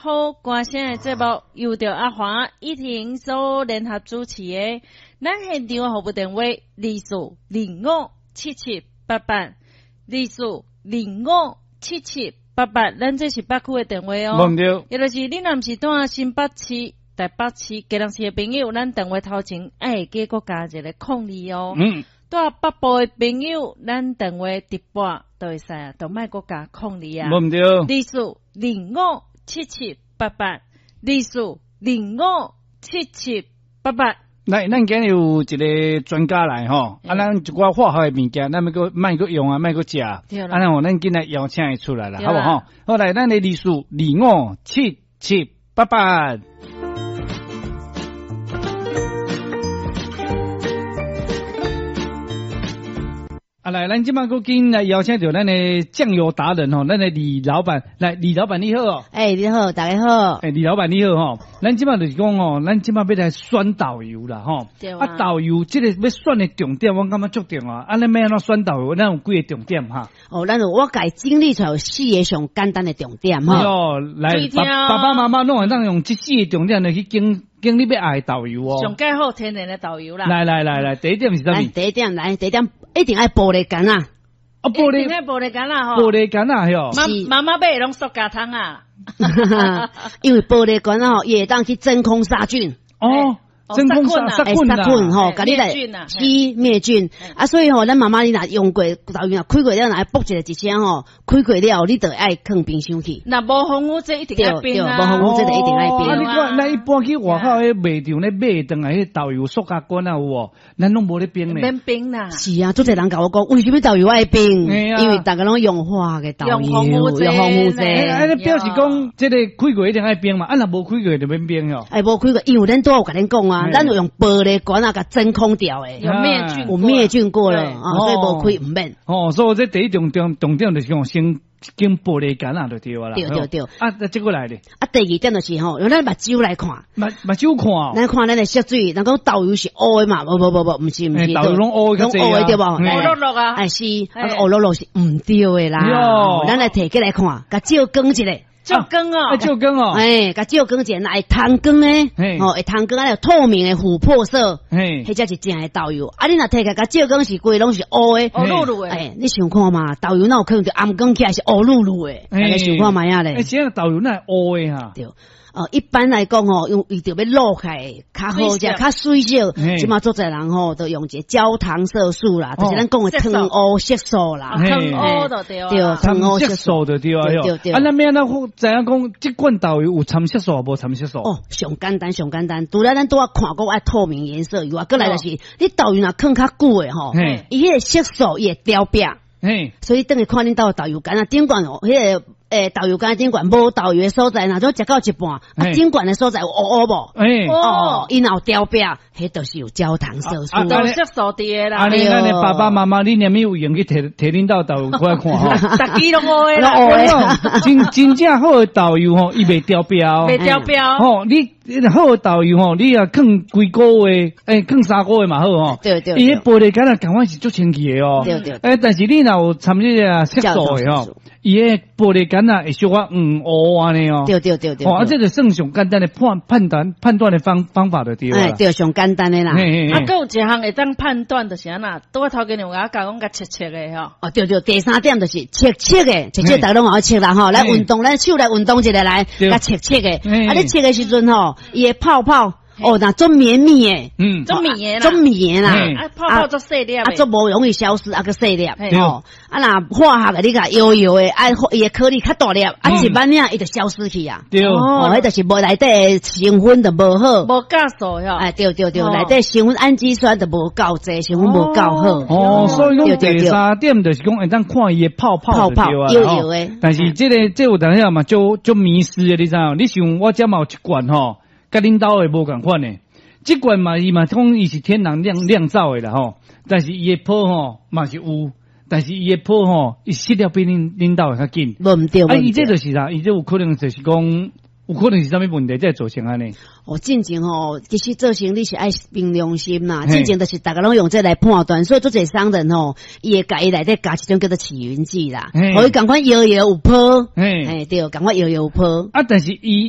好歌聲的節目，由著阿華一婷所聯合主持的。咱現場服務電話24257788，24257788，咱這是北區的電話哦。無毋對。也就是你若毋是住新北市、台北市、基隆市的朋友，咱電話頭前愛會記閣加一個空二哦。住北部的朋友，咱電話直撥就會使啊，就莫閣加空二啊。無毋對。24257788，24257788。來，咱今日有一個專家來吼，啊，咱一寡化學的物件，咱欲閣莫閣用啊，莫閣食，啊，咱吼，咱緊來邀請伊出來啦，好無吼？好來，咱的24257788。啊，來，咱這擺閣緊來邀請著咱的醬油達人吼，咱的李老闆，來，李老闆你好哦。欸，你好，大家好。欸，李老闆你好吼，咱這擺就是講吼，咱這擺欲來選豆油啦吼。對啊。啊，豆油這個欲選的重點，我感覺足重要啊。啊，咱欲按怎選豆油？咱有幾个重點哈？哦，咱有我共整理出來有四个上簡單的重點吼。喲，來，爸爸媽媽攏會當用這四个重點來去揀揀你欲愛的豆油哦。上蓋好天然的豆油啦。來來來來，第一點是啥物？第一點來，第一點一定愛玻璃罐啊！啊，玻璃，一定愛玻璃罐啊！吼，玻璃罐啊，喲。媽媽媽買攏塑膠桶啊。因為玻璃罐吼，伊會當去真空殺菌。哦。真空殺菌殺菌吼，共你來是滅菌啊！所以吼，咱媽媽你若用過，豆油若開過了，若愛爆一聲吼，開過了你就愛囥冰箱去。若無防腐劑一定愛冰啊！無防腐劑就一定愛冰。啊！你看，咱一般去外口彼賣場咧買轉來彼豆油塑膠罐啊有無？咱攏無咧冰咧。免冰啦。是啊，足濟人共我講，為啥物豆油愛冰？因為逐家攏用化的豆油，用防腐劑。用防腐劑。啊，你表示講，這个開過一定愛冰嘛？啊，若無開過就免冰哦。哎，無開過，因為咱拄有共恁講啊。咱有用玻璃罐啊，共真空掉的，有滅菌，有滅菌過了啊，所以無開毋免。哦，所以這第一重重重點就是講先揀玻璃罐啊，就對啦。對對對。啊，這個來咧。啊，第二點就是吼，用咱目睭來看。目目睭看。咱看咱的色水，人講豆油是烏的嘛？無無無無，毋是毋是。豆油攏烏的，攏烏的對無？烏漉漉啊。哎是，啊烏漉漉是毋對的啦。咱來提起來看，共照光一下。照光哦，照光哦，哎，共照光一下，若會通光呢，吼，會通光啊，有透明的琥珀色，彼才是正的豆油。啊，你若提起來共照光是規攏是烏的，烏漉漉的。哎，你想看嘛？豆油哪有可能就暗光起來是烏漉漉的？你想看覓仔咧？欸，這個豆油哪會烏的哈？對。哦，一般來講吼，用伊著欲露起來較好食，較媠色。這馬足濟人吼，都用一個焦糖色素啦，就是咱講的糖烏色素啦。糖烏就對。對，糖烏色素就對啊。對對。啊，咱欲按怎知影講，這罐豆油有摻色素無摻色素？哦，上簡單，上簡單。除了咱拄仔看過愛透明顏色以外，閣來就是，你豆油若囥較久的吼，伊彼個色素伊會掉壁。所以等於看恁兜的豆油罐啊，頂懸哦，彼個。欸，豆油罐頂懸無豆油的所在，若種食到一半，啊，頂懸的所在有烏烏無？哦，伊若有掉壁，彼就是有焦糖色素。有色素佇的啦。按呢，咱的爸爸媽媽，你連咪有閒去提提恁兜豆油過來看吼？逐支攏烏的啦。真真正好的豆油吼，伊袂掉壁哦。袂掉壁。吼，你好的豆油吼，你若囥幾個月，欸，囥3個月嘛好吼。對對。伊彼玻璃罐仔共款是足清氣的哦。對對。欸，但是你若有摻這個色素的吼。伊个玻璃罐仔會小可黃烏按呢哦，對對對對，哦，啊，這就算上簡單的判判斷判斷的方方法就對啦。哎，對，上簡單的啦。啊，閣有一項會當判斷，就是按怎，拄仔頭家有共我教講共測測的吼。哦，對對，第三點就是測測的，測測逐家攏會測啦吼。來運動，咱手來運動一下來，共測測的。啊，你測的時陣吼，伊的泡泡。哦，若足綿密的，足綿的啦，足綿的啦，啊，泡泡足細粒，啊，足無容易消失，啊，閣細粒，吼，啊，若化學的你共搖搖的，啊，伊的顆粒較大粒，啊，一擺爾伊就消失去啊，對，哦，彼就是無內底的成分就無好，無夠數喲，哎，對對對，內底成分氨基酸就無夠濟，成分無夠好，哦，所以講第三點就是講會當看伊的泡泡泡泡搖搖的，但是這个這有當時嘛，足足迷思的，你知影？你想我遮嘛有一罐吼，佮恁兜的無仝款的。這罐嘛，伊嘛講伊是天然釀釀造的啦吼，但是伊的泡吼嘛是有，但是伊的泡吼，伊釋了比恁恁兜的較緊。無毋對，啊，伊這就是啥？伊這有可能就是講，有可能是啥物問題才會造成按呢？哦，進前吼，其實做生理是愛憑良心啦。進前就是逐家攏用這來判斷，所以足濟商人吼，伊會共伊內底加一種叫做起雲劑啦，予伊仝款搖搖有泡，嘿，對，仝款搖搖有泡。啊，但是伊。